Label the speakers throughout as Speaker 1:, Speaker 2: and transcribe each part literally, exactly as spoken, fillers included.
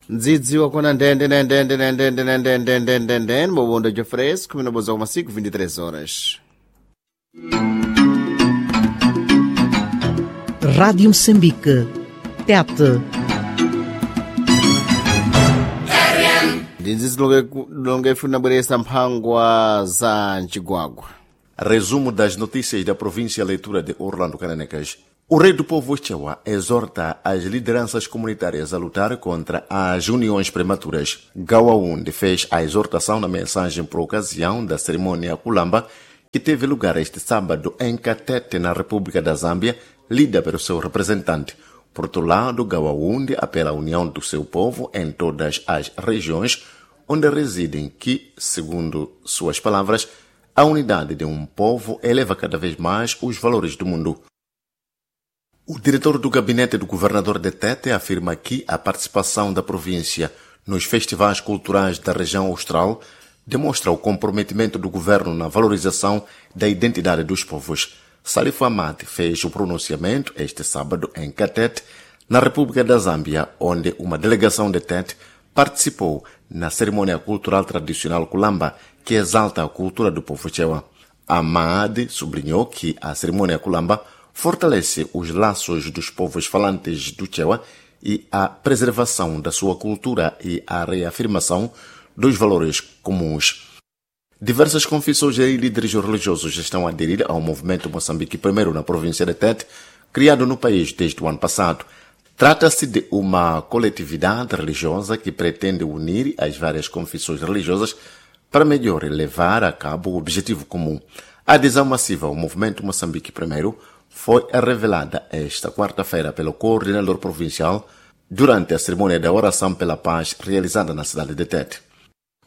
Speaker 1: Ndzidzi wakona ndende ndende ndende ndende ndende ndende ndende mubundo de fresco minoboza kwa masiku vinte e três horas.
Speaker 2: Rádio Moçambique. Tete.
Speaker 1: Ndinzi zilonge funa bweresa mphangwa za mchigwagwa.
Speaker 3: Resumo das notícias da província, leitura de Orlando Cananecas. O rei do povo Chewa exorta as lideranças comunitárias a lutar contra as uniões prematuras. Gawaundi fez a exortação na mensagem por ocasião da cerimônia Kulamba, que teve lugar este sábado em Katete, na República da Zâmbia, lida pelo seu representante. Por outro lado, Gawaundi apela à união do seu povo em todas as regiões onde residem que, segundo suas palavras, a unidade de um povo eleva cada vez mais os valores do mundo. O diretor do gabinete do governador de Tete afirma que a participação da província nos festivais culturais da região austral demonstra o comprometimento do governo na valorização da identidade dos povos. Salif Ahmad fez o pronunciamento este sábado em Katete, na República da Zâmbia, onde uma delegação de Tete participou na cerimônia cultural tradicional Kulamba, que exalta a cultura do povo Chewa. Ahmad sublinhou que a cerimônia Kulamba fortalece os laços dos povos falantes do Chewa e a preservação da sua cultura e a reafirmação dos valores comuns. Diversas confissões e líderes religiosos estão a aderir ao movimento Moçambique Primeiro na província de Tete, criado no país desde o ano passado. Trata-se de uma coletividade religiosa que pretende unir as várias confissões religiosas para melhor levar a cabo o objetivo comum. A adesão massiva ao movimento Moçambique Primeiro foi revelada esta quarta-feira pelo coordenador provincial durante a cerimônia da oração pela paz realizada na cidade de Tete.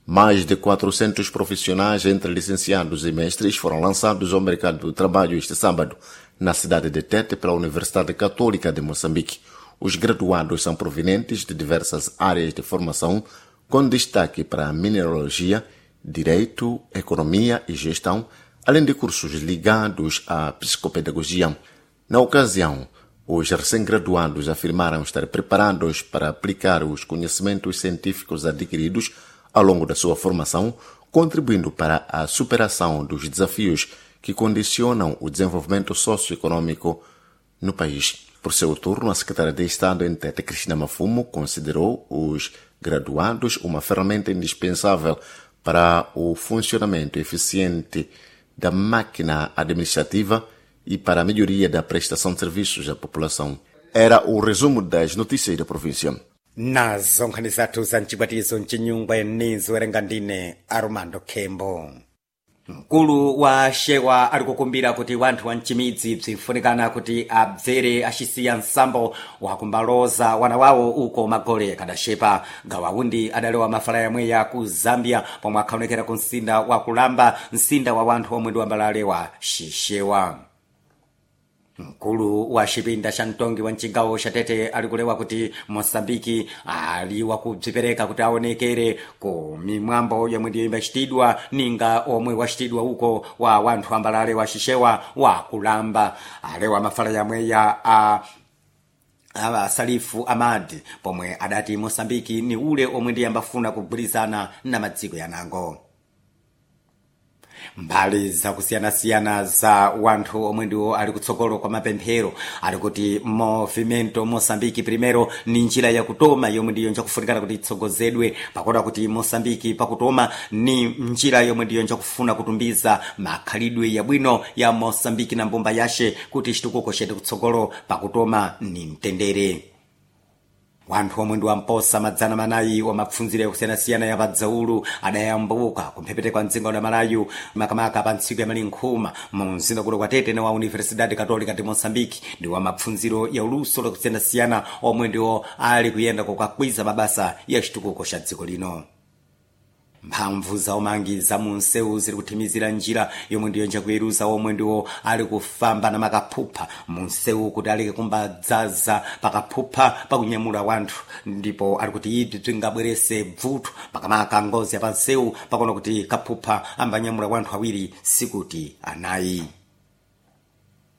Speaker 3: Mais de quatrocentos profissionais, entre licenciados e mestres, foram lançados ao mercado de trabalho este sábado, na cidade de Tete, pela Universidade Católica de Moçambique. Os graduados são provenientes de diversas áreas de formação, com destaque para a mineralogia, direito, economia e gestão, além de cursos ligados à psicopedagogia. Na ocasião, os recém-graduados afirmaram estar preparados para aplicar os conhecimentos científicos adquiridos ao longo da sua formação, contribuindo para a superação dos desafios que condicionam o desenvolvimento socioeconômico no país. Por seu turno, a secretária de Estado em Tete, Cristina Mafumo, considerou os graduados uma ferramenta indispensável para o funcionamento eficiente da máquina administrativa e para a melhoria da prestação de serviços à população. Era o resumo das notícias da província.
Speaker 4: Nazo nkhani zathu za mchibwatizo mchinyungwe nizowerenga ndine Armando Khembo. Mkulu wa Shewa ali kukumbira kuti wanthu wa mchimidzi bzinfunikana kuti abzere acisiya nsambo wakumbaloza wana wawo uko magole kadaxepa. Gawaundi adalewa mafala yamweya ku Zambia pomwe akhaonekera ku msinda wa Kulamba, msinda wa wanthu omwe ndi wambalale wa Xixewa. Mkulu wa xipinda xa mtongi wa mcigawo xa Tete ali kulewa kuti Moçambike ali wakubzipereka kuti aonekere ku mimwambo yomwe ndiyo imbacitidwa ninga omwe wacitidwa uko wa wanthu ambalale wa Xixewa wa Kulamba. Alewa mafala yamweya a awa Salifu Amadi pomwe adati Moçambike ni ule omwe ndiye ambafuna kugwirizana na madziko yanango. Mbali zakusiyanasiyana za wanthu omwe ndiwo ali kutsogolo kwa mapemphero ali kuti Movimento Moçambique Primero ni njira yakutoma yomwe ndiyo njakufunikana kuti itsogozedwe, pakuona kuti Moçambique pakutoma ni njira yomwe ndiyo njakufuna kutumbiza makhalidwe yabwino ya Moçambique na mbumba yace kuti chitukuko chete kutsogolo pakutoma ni mtendere. Wanthu omwe ndi wamposa madzana manayi wa mapfundziro yakusiyanasiyana ya padzaulu adayambuka kumphepete kwa mdzinga wa Malayu, makamaka pa ntsiku ya malinkhuma mu mzinda kuno kwa Tete wa Universidade Católica de Moçambique, ndi wa mapfundziro ya uluso lakusiyanasiyana omwe ndiwo ali kuyenda kukakwiza mabasa ya chitukuko cha dziko lino. Mphamvu za umangi za munsewu ziri kuthimizira njira yomwe ndiyo njakuyeruza omwe ndiwo ali kufamba na makaphupha munsewu kuti aleke kumbadzaza pakaphupha pakunyamula wanthu, ndipo ali kuti ibzi bzingabwerese bvuto makamaka ngozi ya pansewu, pakuona kuti kaphupha ambanyamula wanthu awiri sikuti anayi.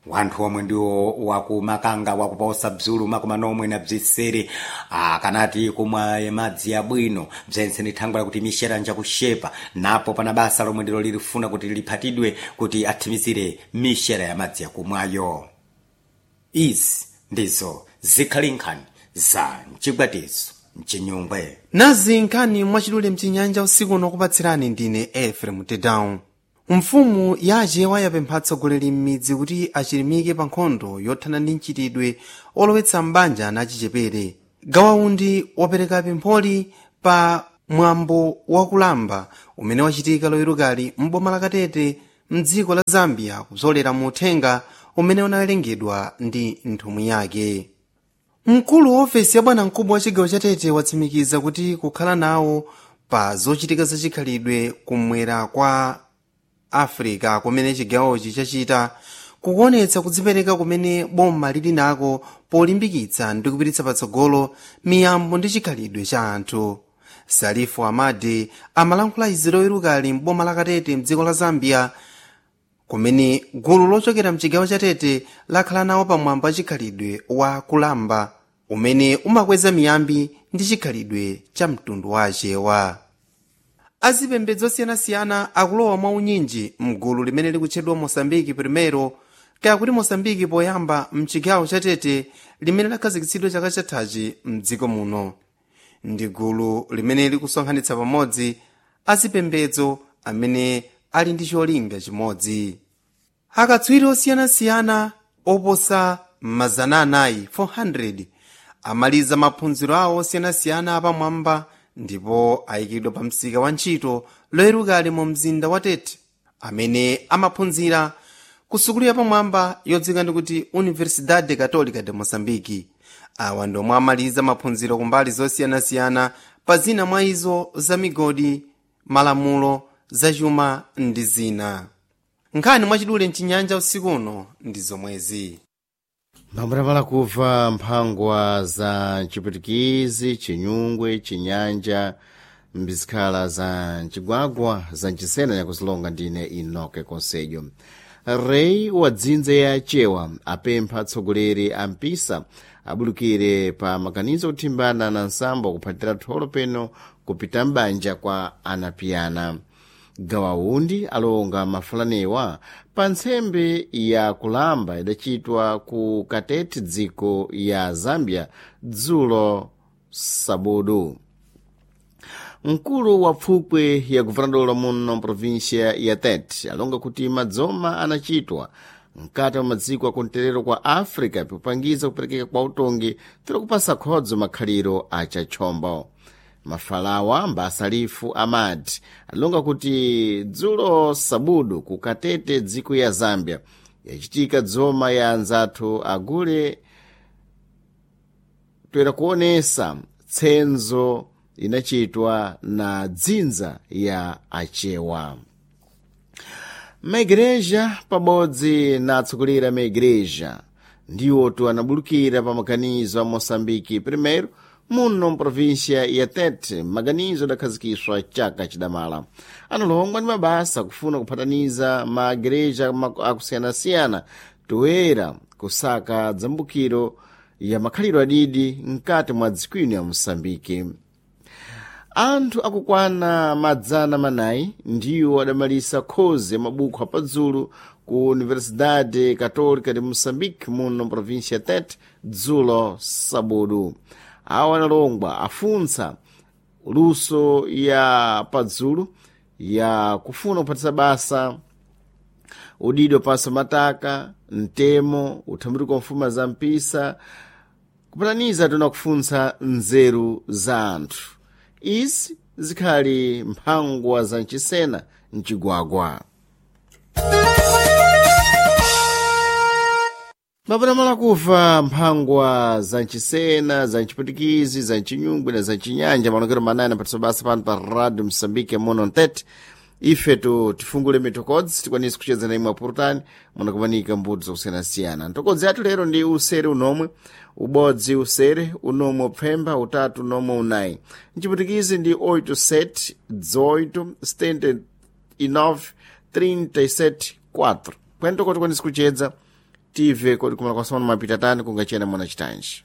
Speaker 4: Wanthu omwe ndiwo wakumakanga wakuposa bzulu makumanomwe na bzisere akanati kumwa madzi abwino bzense ni thangwe lakuti mixera njakushepa napo pana basa lomwe ndilo lilifuna kuti liphatidwe kuti athimizire mixera ya madzi yakumwayo. Izi ndizo zikhali nkhani za mchigwatizo mchinyungwe.
Speaker 5: Nazi nkhani mwachidule mchinyanja usiku uno kupatsirani ndine Efrem Tedown. Mfumu ya Achewa yapempha atsogoleri m'midzi kuti achilimike pa nkhondo yothana ndi mchitidwe olowetsa m'banja ana achichepere. Gawaundi wapereka pempholi pa mwambo wakulamba umene wachitika loyerukali m'boma la Katete mdziko la Zambia kupsolera mu uthenga umene unawerengedwa ndi nthumwi yake. Mkulu wa ofesi ya bwanamkubwa wa chigawo cha Tete watsimikiza kuti kukhala nawo pa zochitika zachikhalidwe kumwera kwa Africa kumene chigawochi chachita kukuonetsa kudzipereka kumene boma lili nako polimbikitsa ndi kupititsa patsogolo miyambo ndi chikhalidwe cha anthu. Salifu Amadi amalankhula izi loyerukali m'boma la Katete mdziko la Zambia kumene gulu lochokera mchigawo cha Tete lakhala nawo pamwambo wa chikhalidwe wa kulamba umene umakweza miyambi ndi chikhalidwe cha mtundu wa Achewa. Azipembedzo osiyanasiyana akulowa mwaunyinji mgulu limene likutchedwa Mosambiki Primero, kaya kuti Mosambiki Poyamba, mchigawo cha Tete limene lakhazikitsidwa chaka chathachi mdziko muno. Ndi gulu limene likusonkhanitsa pamodzi azipembedzo amene ali ndi cholinga chimodzi. Akatswiri osiyanasiyana oposa mazana anayi four hundred amaliza maphunziro awo osiyanasiyana apamwamba ndipo ayikidwa pa msika wa ntchito loyerukali mu mzinda wa Tete, amene amaphunzira ku sukulu yapamwamba yodziwika ndi kuti Universidade Católica de Moçambique. Awa ndi omwe amaliza maphunziro kumbali zosiyanasiyana, pa zina mwa izo za migodi, malamulo, zachuma ndi zina. Nkhani mwachidule mchinyanja usiku uno ndi zomwezi.
Speaker 1: Mphambutamala kuva mphangwa za mchipwitikizi, chinyungwe, chinyanja, mbizikhala za mchigwagwa za mchisena nyakuzilonga ndine Inoke Konsejo. Rei wa dzinza ya Achewa apempha atsogoleri a mpisa abulukire pa maganizo kuthimbana na nsambo kuphatira tholo peno kupita m'banja kwa anapiyana. Gawaundi alonga mafulanewa pa ntsembe ya kulamba idachitwa ku Katete dziko ya Zambia dzulo sabudu. Mkulu wa pfupwe ya guvernador muno mprovinsia ya Tete alonga kuti madzoma anachitwa mkati mwa madziko akumterero kwa Africa pikupangiza kuperekeka kwa utongi tiri kupasa khodzo makhaliro achatchombo. Mafalawa mbasalifu amati alonga kuti dzulo sabudu ku Katete dziko ya Zambia yachitika dzoma ya anzathu agule toera kuonesa tsenzo inachitwa na dzinza ya Achewa. Maigreja pabodzi na atsogoleri a maigreja ndiwotu anabulukira pa maganizo a Moçambique Primeiro muno mprovinsia ya Tete, maganizo adakhazikiswa chaka chidamala. Analongwa ndi mabasa kufuna kuphataniza maigreja akusiyanasiyana toera kusaka dzambukiro ya makhaliro adidi mkati mwa dziko ino ya Moçambique. Anthu akukwana madzana manayi ndiwo adamalisa khozi ya mabuku apadzulu ku Universidade Católica de Moçambique muno mprovinsia ya Tete dzulo sabudu. Awa analongwa afuntsa luso ya padzulu ya kufuna kuphatisa basa udido pasa mataka mtemo uthambuliko wa mfuma za mpisa kupataniza tona kufuntsa nzeru za anthu. Izi zikhali mphangwa za mchisena mchigwagwa. Mapatamala kuva mphangwa za mchisena, za mchipwitikizi, za mchinyungwe na za mchinyanja malongero manane apatiso basa pano pa Radio Msambike muno mtete. Ifetu tifungule mitokodzi tikwanise kucheza na imwe apurutani munakumanika mbuto zakusiyanasiyana. Ntokodzi yathu lero ndi usere unomwe ubodzi, usere unomwe upfemba utatu unomwe unayi. Mchipwitikizi ndi oito sete dezoito setenta e nove trinta e sete quatro. Kwentoko tikwanise kucheza. tive kodi kumala kwa semana mapita tani kungachena mwana chitanji.